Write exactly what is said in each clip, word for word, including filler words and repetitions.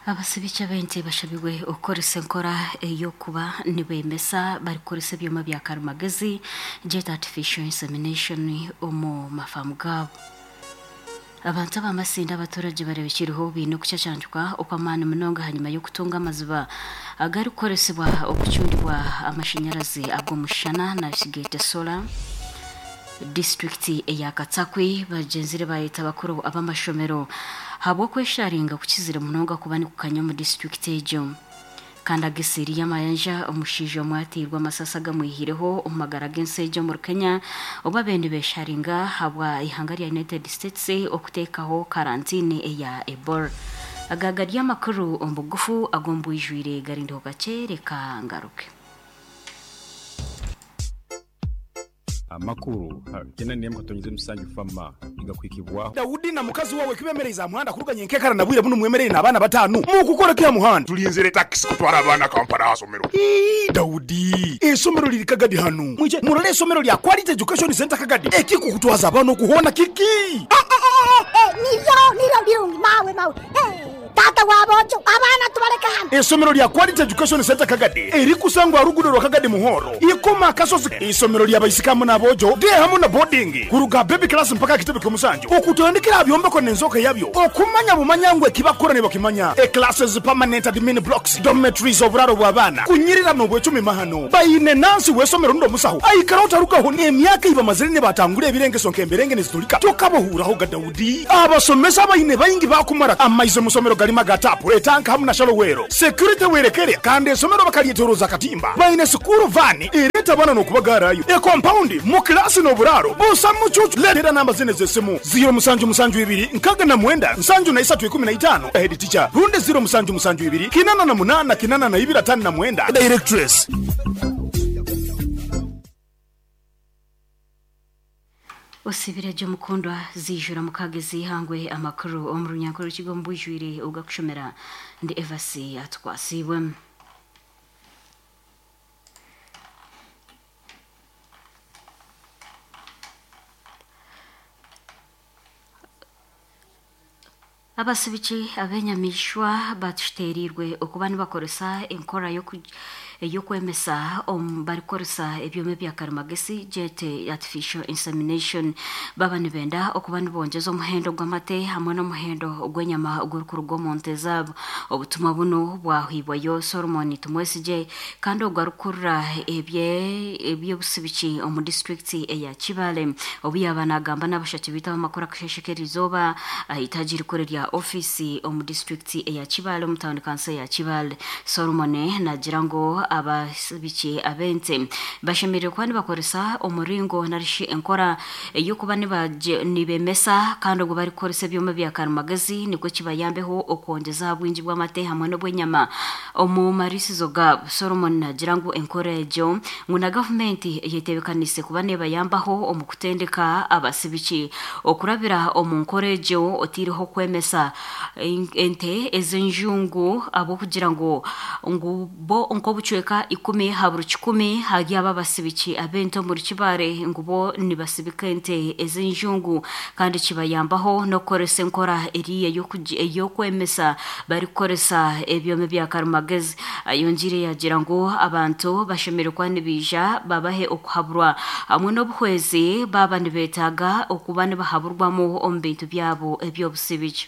Abasibiki ab'ente bashabirwe okukoresa enkora ey'okuba nibemesa barikukoresa ebyoma bya karimagezi jet artificial insemination omu mafamu gaabo. Abantu ab'amasindi abaturage barebekiriho baine okucacangibwa okw'amaani munonga hanyuma y'okutunga amaziba agarikukoresibwa okucundibwa amashanyarazi ag'omushana nakigeete solar. Disitulikiti eya Katsakwi bagyenzire bayeta bakuru ab'amashomero habw'okwesharinga kukizire munonga kuba nikukanya omu disitulikiti egyo. Kandi ag'eseeri y'amayanja omushaija omwe ateirwe amasasi agamwihireho omu magara g'ensi egyo omuri Kenya obu abaire nibesharinga habwa ihanga rya United States okuteekaho karantini eya Ebola. Aga gari amakuru omu bugufu ag'omu bwijwire garindiho kakye reka ngaruke. Amakuru kena niyo mukatonyeze musanju fama igakwikibwaho Daudi na mukazi wawe kibemereza muhanda kuruganya enkekara na bwire buno mwemerere n'abaana batanu mukukora kya muhanda tulinzire taxi kutwara abaana Kampala asomero. Ii, Daudi esomero liri Kagadi hanu mwije murole esomero lya Quality Education Center Kagadi ekikukutwaza abaana okuhona kiki Eh, eh, eh, eh, niryo niryo birungi mawe mawe. Eh, tata wabojo abaana tubaleka hano. Esomero lya Quality Education Center Kagadi erikusangwa rugudo rwa Kagadi Muhoro ikoma akasozi. Isomero lya baisikamu n'abojo de hamu na boarding kuruga baby class mpaka kitebe ky'omusanju okutandikira byombeko n'enzoka yabyo okumanya bumanya ngwe kibakora ne bakimanya e classes, permanent admin blocks, dormitories, oburaro bw'abaana kunyirira n'obwecumi mahano bayine nansi w'esomero ndo musaho aikara otarugaho n'emyaka ibamazire ne batangura ebirengeso nk'emberenge nezitulika tokabohuraho ga Daudi. Abasomesa bayine bayingi bakumara amaize musomero galima gatapu etanka hamu na shalowero security werekere kandi esomero bakalyetoroza katimba bayine sukuru vani ereta bana n'okubagarayo e compound mu klasi n'oburaro busa mucucu. Letera namba zine z'esimu ziro musanju musanju ibiri nkaga na mwenda nsanju na isatu ikumi na itano head teacher runde ziro musanju musanju ibiri kinana na munana kinana na ibiri atano na mwenda directress. Osibire gye mukundwa zijura mukagezi ihangwe amakuru omu runyankore rw'ikigo mbujwire ogakushomera ndi Evasi atwasibwe. Abasibiki abenyamishwa batushiterirwe okuba nibakoresa enkora yoku- ey'okwemesa omu barikoresa ebyoma ebya karimagezi jet artificial insemination baba nibenda okuba nibongyeza omuhendo gw'amate hamwe n'omuhendo gw'enyama ogurikuruga omu nte zaabo. Obutumwa buno bwahibwayo Solomon Tumwesigye kandi ogwo arikukurira ebye eby'obusibiki omu disitulikiti eya Kibale obu yaaba nagamba n'abashaki biita abamakuru akasheshe k'erizooba ahitaagi rikuru rya ofiisi omu disitulikiti eya Kibale omu tawuni kanso ya Kibale. Solomon nagira ngu abasibiki ab'ente bashemereire kuba nibakoresa omuringo narishi enkora ey'okuba nibaje- nibemesa kandi obwo barikukoresa ebyoma bya karimagezi nikwo kibayambeho okwongyeza aha bwingi bw'amate hamwe n'obw'enyama omu marisizo gaabo. Solomon nagira ngu enkora egyo ngu na gavumenti eyetebekanise kuba nebayambaho omu kutendeka abasibiki okurabira omu nkora egyo otiireho kwemesa en- ente ez'enjungu ahabw'okugira ngu ngu bo nk'obucweka ikumi ha buri kikumi hari aba abasibiki ab'ente omuri Kibale ngu bo nibasibika ente ez'enjungu kandi kibayambaho n'okukoresa enkora eriya ey'okugi- ey'okwemesa barikukoresa ebyoma bya karimagezi. Ayongiire yagira ngu abantu bashemereire kuba nibaija babahe okuhaburwa hamwe n'obuhwezi baba nibeetaaga okuba nibahaburwamu omu bintu byabo eby'obusibiki.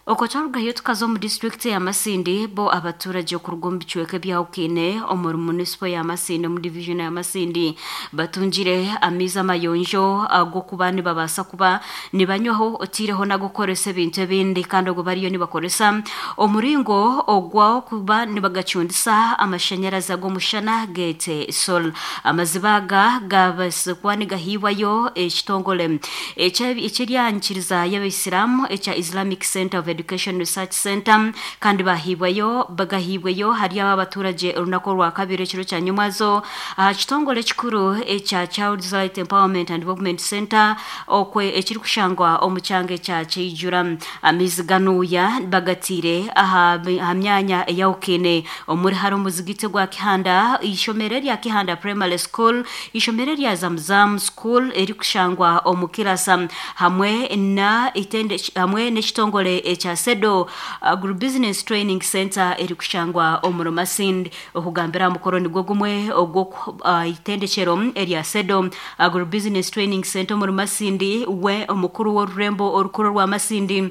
Okwo twarugayo tukaza omu disitulikiti ya Masindi bo abaturage okuruga omu bicweka ebyahukine omuri munisipo ya Masindi omu division ya Masindi batungire amaizi amayonjo ag'okuba nibabaasa kuba nibanywaho otiireho n'agokukoresa ebintu ebindi kandi obwo bariyo nibakoresa omuringo ogw'okuba nibagacundisa amashanyarazi ag'omushana geete sol. Amaziba aga gabaasa kuba nigahiibwayo ekitongore ekye- ekyeryankiriza y'abaisiramu ekya Islamic Center of Education Research Center kandi bahibwayo bagahibweyo hari aba abaturage orunaku orwa kabiri ekiro kya nyumwazo aha kitongore ekikuru ekya Child's Right Empowerment and Development Center okwe ekirikushangwa omu kyanga ekya Kyijura. Amaizi ganuuya bagatiire aha aha myanya eyahukine omuri hari omuzigiti gwa Kihanda, ishomero erya Kihanda Primary School, ishomero erya Zamzam School erikushangwa omu Kirasa hamwe na itende hamwe n'ekitongore ekya ekya Sedo Agribusiness Training Center erikushangwa omuri Masindi. Okugambira mukoro nigwo gumwe ogwo uh, itendekero erya Sedo Agribusiness Training Center omuri Masindi, we omukuru w'orurembo orukuru rwa Masindi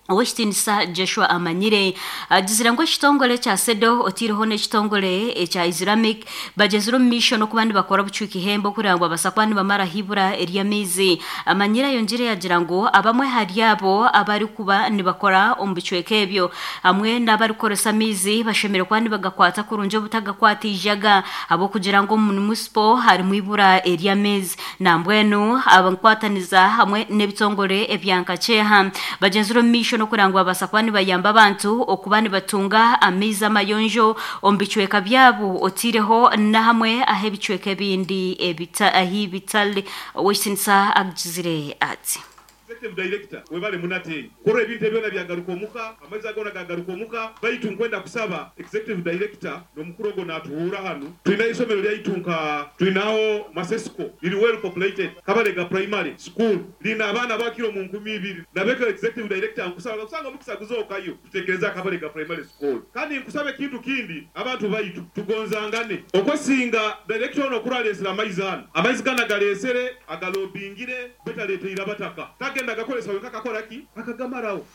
Owekitiinisa Joshua Amanyire agizire ngu ekitongore kya Sedo otiireho n'ekitongore ekya Islamic bagyezire omu maisho n'okuba nibakora obucwika ihembe okugira ngu babasa kuba nibamaraho ibura ery'amaizi. Amanyire ayongyire yagira ngu abamwe hari abo abarikuba nibakora omu bicweka ebyo hamwe n'abarikukoresa amaizi bashemereire kuba nibagakwata kurungi obutagakwata ijaga ahabw'okugira ngu omu munisipo harimu ibura ery'amaizi. Nambwenu abankwataniza hamwe n'ebitongore ebya Nkakyeha bagyenzire omu maisho n'okugira ngu babasa kuba nibayamba abantu okuba nibatunga amaizi amayonjo omu bicweka byabo otiireho na hamwe aho ebicweka ebindi ahi bitari. Owekitiinisa agizire ati: Executive director, webale munate kora ebintu ebyona byagaruka omuka, amaizi agona gagaruka omuka. Baitu nkwenda kusaba executive director n'omukuru ogwo natuhuura hanu, tulina isomero lyaitu nka tulinaho Masesco liri well populated, Kabalega Primary School lina abaana bakiro mu nkumi ibiri. Nabeka executive director, nkusaba kusanga omukisa guzookayo tutekereza Kabalega Primary School. Kandi nkusaba ekintu kindi, abantu baitu tugonzangane. Okwesinga director ono okuralesera amaizi ano, amaizi gana galesere agalobingire betaleteire abataka, tagenda gakolesa wenka kakoraki akagamarawo.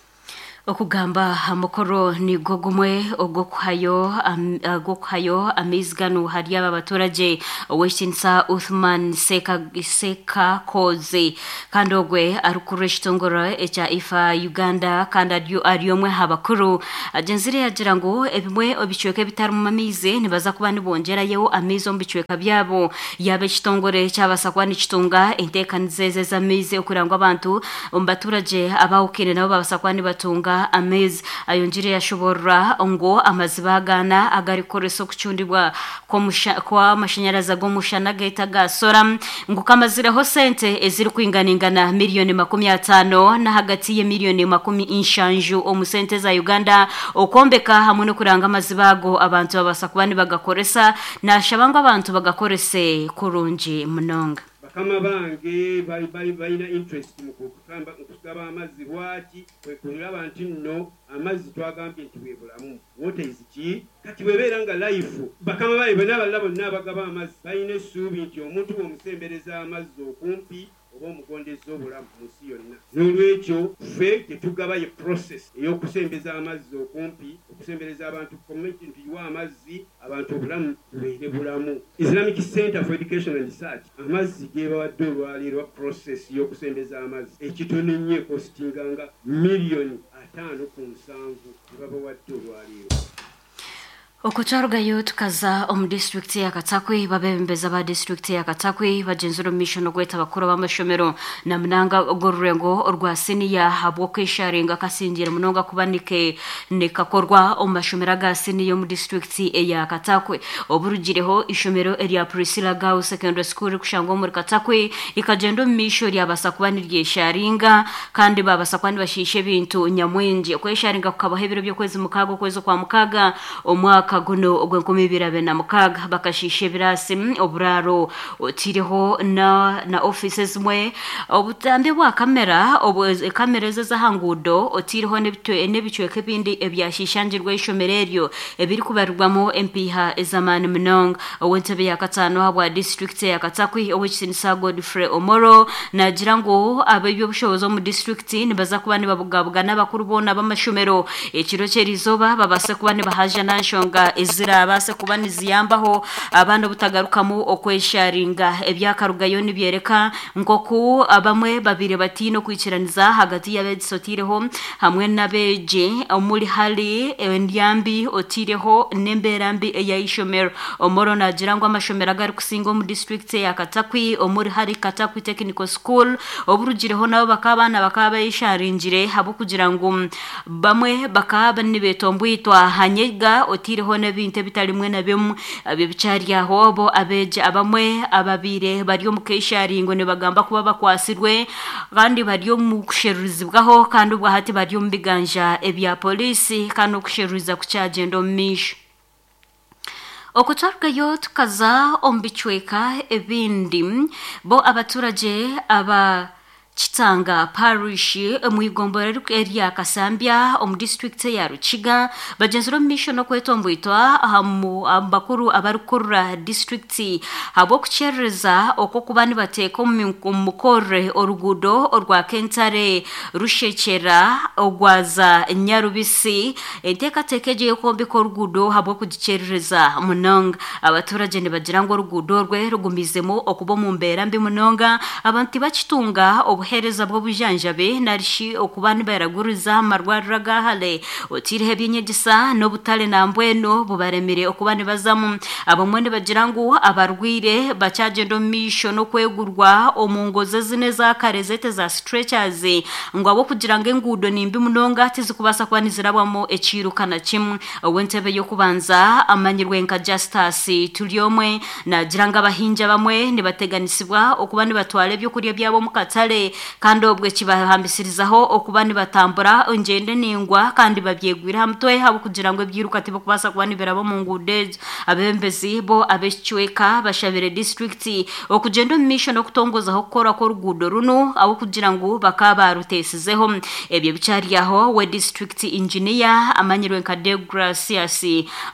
Okugamba aha mukoro nigwo gumwe ogw'okuhayo am- ogw'okuhayo amaizi ganu hari aba baturage, Owekitiinisa Uthman Seka Sekakoze, kandi ogwe arikuru ekitongore ekya IFA Uganda kandi ari ari omwe aha bakuru, agenzire yagira ngu ebimwe ebicweka ebitarimu amaizi nibaza kuba nibongyerayo amaizi omu bicweka byabo yaba ekitongore kyabasa kuba nikitunga enteekaniza ezi ez'amaizi okugira ngu abantu omu baturage abahukire nabo babasa kuba nibatunga amaizi. Ayongire yashoborora ngu amaziba agana agarikukoresa okucundibwa kw'omusha- kw'amashanyarazi ag'omushana geeta ga sora ngu kamazireho sente ezirikwinganingana miliyoni makumi ataano n'ahagati y'emiliyoni makumi nshanju omu sente za Uganda okwombeka hamwe n'okuranga amaziba ago abantu babasa kuba nibagakoresa. Nashaba ngu abantu bagakorese kurungi munonga. Bakama bange bali- bali- balina interest mu kutamba- mu kugaba amazzi. Lwaki? Kwe kulaba nti nno amazzi twagambye nti bwe bulamu, water is ki. Kati bwebeera nga life, bakama bange bonna abalala bonna abagaba amazzi balina essuubi nti omuntu bw'omusembereza amazzi okumpi oba omugondeza obulamu mu nsi yonna. N'olwekyo ffe tetugaba ye process ey'okusembeza amazzi okumpi, okusembereza abantu community nti tuyiwe amazzi abantu obulamu bubeere bulamu. Islamic Center for Education and Research amazzi gebawadde olwaleero, process y'okusembeza amazzi ekitono ennyo ekositinga nga miliyoni ataano ku nsanvu gebabawadde olwaleero. Okutwarugayo tukaza omu disitulikiti ya Katakwi, babebembeza ba disitulikiti ya Katakwi bagenzire omu maisho n'okweta abakuru b'amashomero na munanga ogw'orurengo orwa siniya habw'okwesharinga kasingire munonga kuba nike nikakorwa omu mashomero aga siniya omu disitulikiti eya Katakwi. Oburugireho ishomero erya Priscilla Girls Secondary School rikushangwa omuri Katakwi rikagenda omu maisho ryabasa kuba niryesharinga kandi babasa kuba nibashiisha ebintu nyamwingi. Okwesharinga kukabaho ebiro by'okwezi mukaaga okwezi kwa mukaaga omwaka guno ogw'enkumi ibiri abiri na mukaaga. Bakashiisha ebirasi, mm, oburaaro, otiireho na, na ofiisi ezimwe, obutambi bwa kamera obu kamera ezo ez'aha nguudo, otiireho n'ebitwe- n'ebicweka ebindi ebyashishangirwe ishomero eryo ebirikubarirwamu empiiha ez'amaani munonga. Ow'entebe ya kataano ahabwa disitulikiti ya Katakwi, Owekitiinisa Godfrey Omoro, nagira ngu ab'ebyobushobozi omu disitulikiti nibaza kuba nibabugabuga n'abakuru boona b'amashomero ekiro ky'erizooba babase kuba nibahaja na nshonga ezirabaase kuba niziyambaho abaana obutagarukamu okwesharinga. Ebyakarugayo nibyereka nk'oku abamwe babire batiine okwikiraniza hagati y'abeegisa otiireho hamwe n'abeegi omuri hari endyambi otiireho n'embeera mbi ey'eishomero. Omoro nagira ngu amashomero agarikusinga omu disitulikiti ya Katakwi omuri hari Katakwi Technical School oburugireho nabo bakaba abaana bakaba bayesharingire habw'okugira ngu bamwe bakaba nibetombwitwa hanyega otiireho n'ebintu ebitarimwe na bimwe ebyo bikyari aho. Bo abeegi abamwe ababiire bari omu kesharingo nibagamba kuba bakwasirwe kandi bari omu kusherurizibwaho kandi ubwo hati bari omu biganja ebya polisi kandi okusheruriza kukyagenda omu maisho. Okutwarugayo tukaza omu bicweka ebindi, bo abaturage aba Kitanga Parish mu igombora erya Kasambya omu district ya Rukiga bagenzire omu maisho n'okwetombwitwa aha bakuru abarikukurura district habw'okukyerereza okw'okuba nibateeka omu mukorre oruguudo orwa Kentare Rushekyera ogwaza Nyarubisi. Enteekateeka egyo y'okwombeka oruguudo habw'okugikyerereza munonga. Abaturage nibagira ngu oruguudo orwe rugumizemu okuba omu mbeera mbi munonga, abantu tibakitunga obuheereza bw'obujanjabi narishi okuba nibaraguriza amarwariro agahare, otiireho ebyenyegyesa n'obutare nambwenu bubaremire okuba nibazamu. Abamwe nibagira ngu abarwire bakyagenda omu maisho n'okwegurwa omu ngozi ezine ezakare zete za stretchers, ngu ahabw'okugira ngu enguudo nimbi munonga tizikubaasa kuba nizirabwamu ekiiruka na kimwe. Ow'entebe y'okubanza amanyirwe nka Justus Turyomwe nagira ngu abahingi abamwe nibateganisibwa okuba nibatwara ebyokurya byabo omu katare, kandi obwe kibahambisirizaho okuba nibatambura engyendo ningwa kandi babyegwire aha mutwe ahabw'okugira ngu ebyiruka tibikubaasa kuba nibiraba omu nguudo ezo. Abebembezi bo ab'ekicweka bashabire disitulikiti okugyenda omu maisho n'okutongozaho okukora kw'oruguudo runu ahabw'okugira ngu bakaba barutesizeho. Ebyo bikyari aho, we disitulikiti engineer amanyirwe nka Deogratias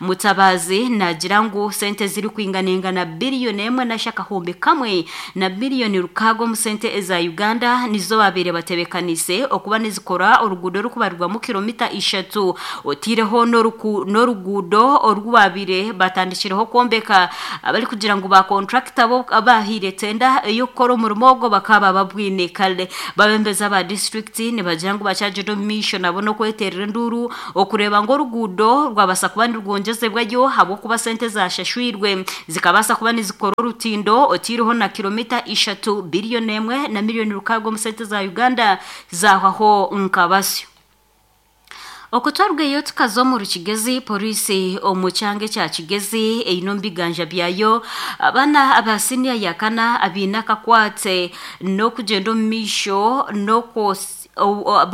Mutabazi nagira ngu sente zirikwinganingana biliyoni emwe na shakahumbi kamwe na miliyoni rukaaga omu sente eza Uganda nizo babaire batebekanise okuba nizikora oruguudo orukubarirwamu kilomita ishatu, otiireho n'oruguudo oru babaire batandikireho kwombeka abarikugira ngu bakontrakita bo abahaire tenda ey'okukora omurimo ogwo bakaba babwine kare. Babembezi aba disitulikiti nibagira ngu bakyagenda omu maisho nabo n'okweterera enduuru okureeba ngu oruguudo rwabasa kuba nirwongyezebwayo ahabw'okuba sente zashashwirwe zikabaasa kuba nizikora orutindo otiireho na kilomita ishatu biliyoni emwe na miliyoni rukaaga omu sente za Uganda zahwaho nka basyo. Okutwarwayo tukaza omu Rukigezi, polisi omu kyanga ekya Kigezi eine omu biganja byayo abaana aba siniya ya kana abaine akakwate n'okugyenda omu maisho n'okwosa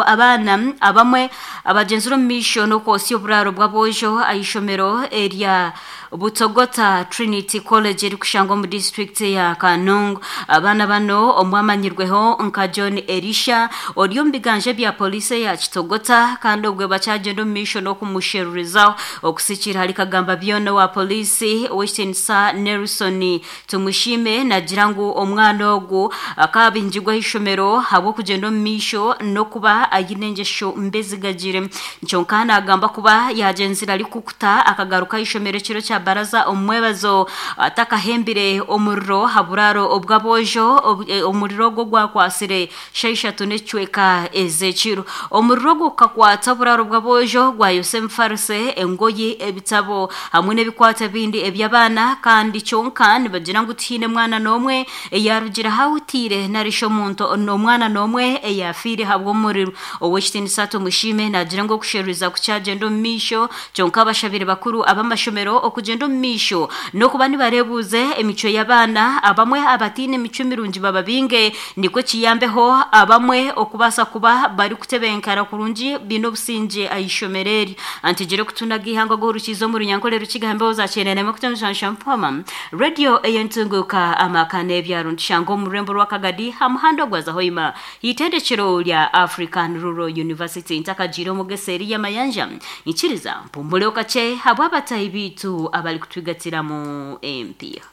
abaana abamwe abagenzire omu maisho n'okwosya oburaaro bw'aboojo aha ishomero erya Butogota Trinity College erikushangwa omu disitulikiti ya Kanungu. Abaana bano omwe amanyirweho nka John Elisha ori omu biganja bya polisi ya Kitogota, kandi obwe bakyagenda omu maisho n'okumusherurizaho. Okusikira hari Kagamba byona wa polisi ow'ekitiinisa Nelson Tumushime nagira ngu omwana ogu akabingirwa aha ishomero ahabw'okugyenda omu maisho n'okuba aine engyesho mbi ezigagire. Kyonka nagamba kuba yagyenzire arikukuta akagaruka aha ishomero ekiro kya baraza omu mwebazo atakahembire omuriro aha buraaro obw'aboojo. Omuriro ogwo gwakwasire shaaha ishatu n'ekicweka ez'ekiro. Omuriro ogwo gukakwata oburaaro bw'aboojo gwayosa emifarise, engoyi, ebitabo hamwe n'ebikwata ebindi eby'abaana, kandi kyonka nibagira ngu tihaine mwana n'omwe eyarugire ahahutiire narishi omuntu omwana n'omwe eyafiire ahabw'omuriro. Ow'ekitiinisa Tumushime nagira ngu okusheruriza kukyagenda omu maisho, kyonka abashabire bakuru ab'amashomero okugyenda omu maisho n'okuba nibareebuuze emicwe y'abaana abamwe abataine emicwe mirungi bababinge, nikwo kiyambeho abamwe okubaasa kuba barikutebenkana kurungi biine obusingye aha ishomero eri. Antigire kutunaga ihanga ogw'orukiizo omu Runyankore Rukiga mbeho za kyenda na mushanju mpoma radio ey'entunguka amaka n'ebyaro ntushanga omu rurembo rwa Kagadi ha muhanda ogwaza Hoima itendekero rya African Rural University. Ntakagiire omugesa eri y'amayanja nkiriza mpumuleho kakye habw'abatahi biitu abarikutwigatiramu empiiha.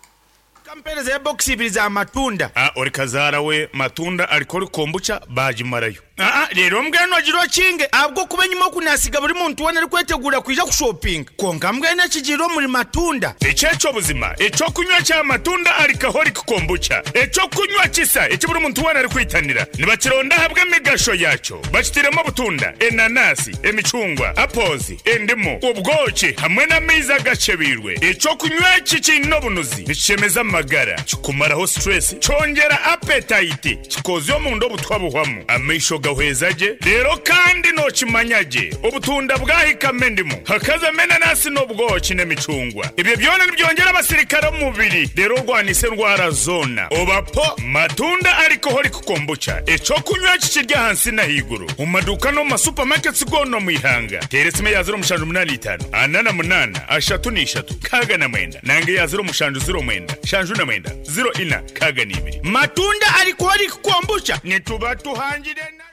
Kampereza ya bokisi ibiri za matunda. Ah, ori kazaara we matunda ariko ori kombucha bagimarayo. Aa rero mbwenu ogira okinge ahabw'okuba enyima oku nasiga buri muntu weena arikwetegura kwija kushopinga, konka mbwenu ekigiire omuri matunda. Ekyekyo buzima ekyokunywa kya matunda alcoholic kombucha, ekyokunywa kisa eki buri muntu weena arikwitanira nibakironda ahabw'emigasho yakyo. Bakitiremu obutunda, enanasi, emicungwa, apples, endimu, obwoki hamwe n'amaizi agacebiirwe. Ekyokunywa eki kiine obunuzi, nikishemeza amagara, kikumaraho stress, kyongera appetite, kikozya omunda obutwa buhwamu amaisho. Nigahweza gye rero kandi nokimanya gye obutunda bwahikamo endimu hakazamo enanasi n'obwoki n'emicungwa ebyo byona nibyongera abasirikare omu mubiri rero orwanisa endwara zoona obapo matunda alcoholic kombucha ekyokunywa kikirya ahansi n'ahaiguru omu maduuka n'omu masupamaketi goona omu ihanga teera esimu eya ziro mushanju munaana itaano ana na munaana ashatu n'ishatu kaaga na mwenda nange eya ziro mushanju ziro mwenda shanju na mwenda ziro ina kaaga n'ibiri matunda alcoholic kombucha nituba tuhangire na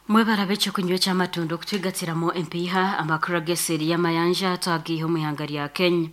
Mwebara ekyokunywa ky'amatunda okutwigatiramo empiiha amakuru ag'eseri y'amayanja twagiiha omu ihanga rya Kenya.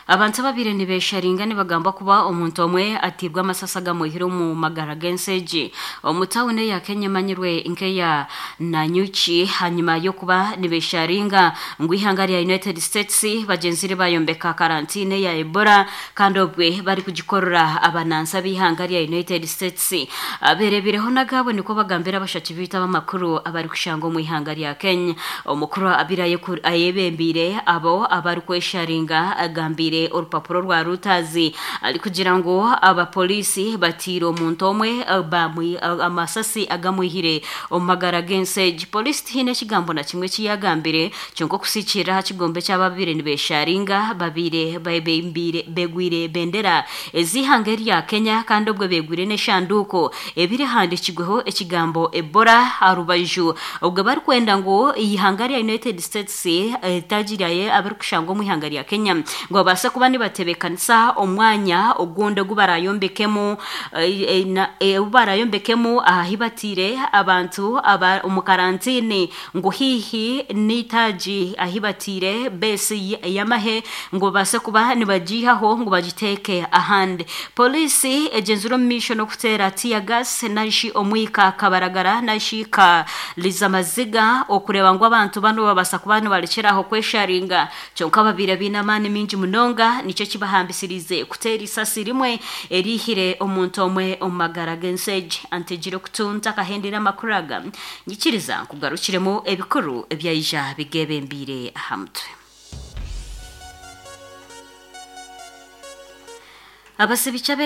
Abantu babiri nibesharinga nibagamba kuba omuntu omwe atibwa amasasi agamwihire omu magara g'ensegi omu tawuni eya Kenya emanyirwe nk'eya Nanyuki hanyuma y'okuba nibesharinga ngu ihanga rya United States bagyenzire bayombeka karantine ya Ebola kandi obwe bari kugikorera abanansi b'ihanga rya United States aberebireho nagabo niko bagambira abashaki bita abamakuru abari kushanga omu ihanga rya Kenya. Omukuru abira ayebembire abo abari kwesharinga agambire orupapuro rwa Reuters ari kugira ngo abapolisi batira omuntu omwe bamwi amasasi agamwihire omu magara g'ensegi. Polisi tihine ekigambo na kimwe kiyagambire kyonka okusikirira aha kigombe ky'ababire nibesharinga babire bebembire begwire bendera ez'ihanga erya Kenya kandi obwe begwire n'eshanduko ebirihandikirweho ekigambo Ebola aha rubaju obwe barikwenda ngu ihanga rya United States etagiraye abarikushanga omu ihanga rya Kenya ngo babase kuba nibatebekanisa omwanya ogundi ogu barayombekemu ogu barayombekemu ahi batire abantu aba omu karantini ngu hihi n'itaagi ahi batire besi y'amahe ngu babase kuba nibagiihaho ngu bagiteeke ahandi. Polisi egyenzire omu maisho n'okuteera tear gas narishi omwika kabaragara narishi kariza amaziga okureeba ngu abantu bano babasa kuba nibarekyeraho kwesharinga kyonka babire biine amaani mingi munonga nikyo kibahambisirize kuteera isasi rimwe erihire omuntu omwe omu magara g'ensegi. Antegire kutunta akahendera amakuru aga nyikiriza nkugarukiremu ebikuru ebyaija bigebembire aha mutwe. Abasibicha